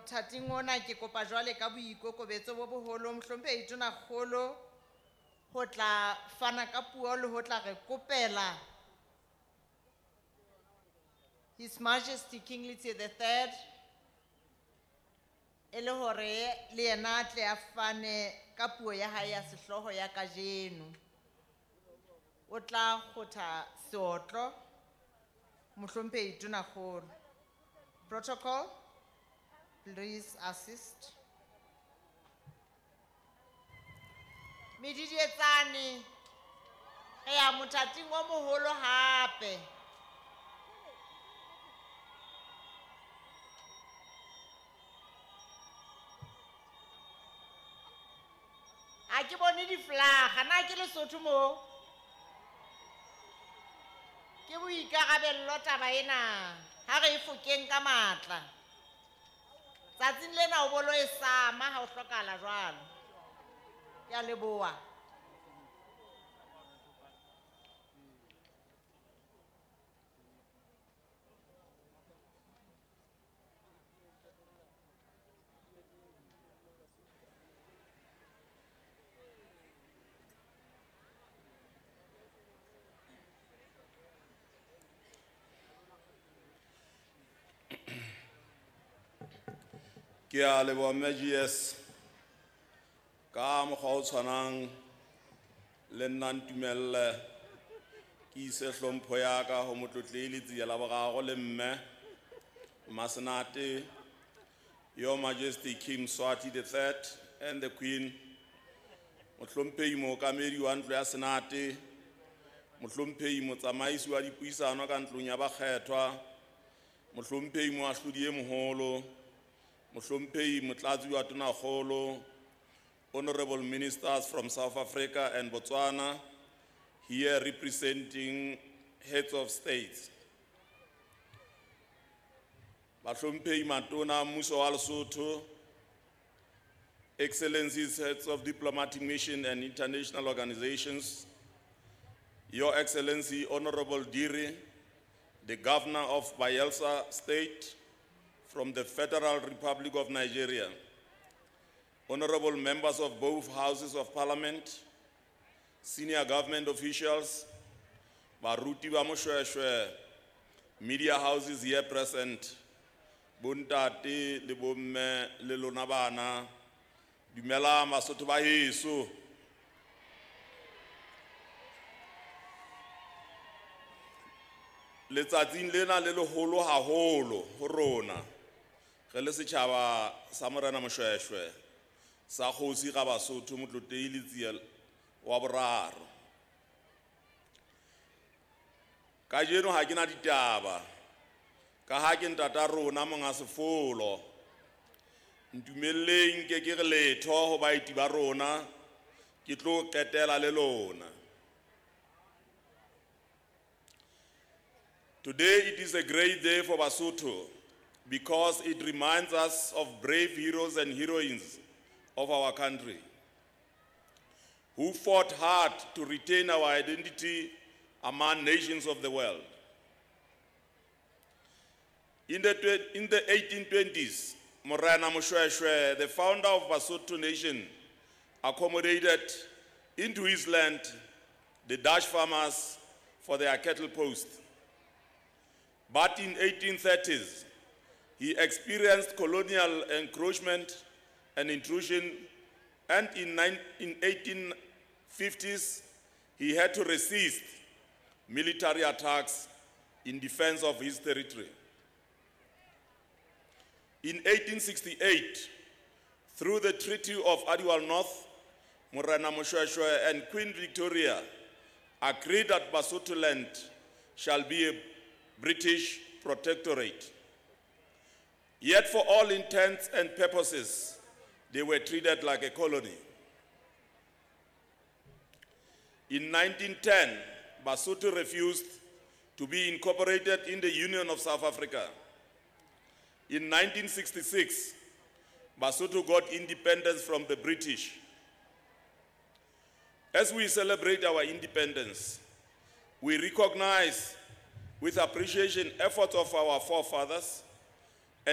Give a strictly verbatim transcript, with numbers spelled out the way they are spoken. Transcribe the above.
Mothating ona ke kopa jwale ka boikokobetso bo boholo mohlomphehi Tonakgolo ho tla fana ka puo le ho tla re kopela His Majesty King Letsie the Third e le hore le yena a tle a fane ka puo ya hae ya sehlooho ya kajeno. O tla kgotha seotlo mohlomphehi Tonakgolo. Protocol, please assist. Medidietsane, re ya mothating o moholo hape. Ha ke bone di-flaga, na ke Lesotho mo? Ke boikarabello taba ena, ha re e fokeng ka matla. Tsatsing lena o bolo e sama ha o hlokahala jwalo. Ke a leboha. Ke a leboha Mme G S ka mokgwa o tshwanang le nna ntumelle ke ise hlompho ya ka ho motlotlehi Letsie la boraro le mme Masenate, Your Majesty King Mswati the Third and the Queen, mohlomphehi mookamedi wa ntlo ya Senate, mohlomphehi motsamaisi wa dipuisano ka ntlong ya bakgethwa, mohlomphehi moahlodi e moholo, mohlomphehi motlatsi wa Tonakgolo, honorable ministers from South Africa and Botswana, here representing heads of states. Bahlomphehi matona a mmuso wa Lesotho, Excellencies, heads of diplomatic mission and international organizations, Your Excellency, Honorable Diri, the Governor of Bayelsa State from the Federal Republic of Nigeria, honorable members of both houses of parliament, senior government officials, baruti ba Moshoeshoe, media houses here present, bontate le bomme le lona bana, dumela Basotho ba heso. Letsatsing lena le leholo haholo ho rona, re le setjhaba sa Morena Moshoeshoe, sa kgosi ga Basotho Motlotlehi Letsie wa boraro. Kajeno ha ke na ditaba, ka ha ke ntata rona monga sefolo. Ntumelleng ke ke re letho ho baeti ba rona, ke tlo qetela le lona. Today it is a great day for Basotho because it reminds us of brave heroes and heroines of our country who fought hard to retain our identity among nations of the world. In the, in the eighteen twenties, Morena Moshoeshoe, the founder of Basotho Nation, accommodated into his land the Dutch farmers for their cattle post. But in eighteen thirties, he experienced colonial encroachment and intrusion, and in, nine, in eighteen fifties, he had to resist military attacks in defense of his territory. In eighteen sixty-eight, through the Treaty of Aliwal North, Morena Moshoeshoe and Queen Victoria agreed that Basotholand shall be a British protectorate. Yet for all intents and purposes, they were treated like a colony. In nineteen ten, Basotho refused to be incorporated in the Union of South Africa. In nineteen sixty-six, Basotho got independence from the British. As we celebrate our independence, we recognize with appreciation efforts of our forefathers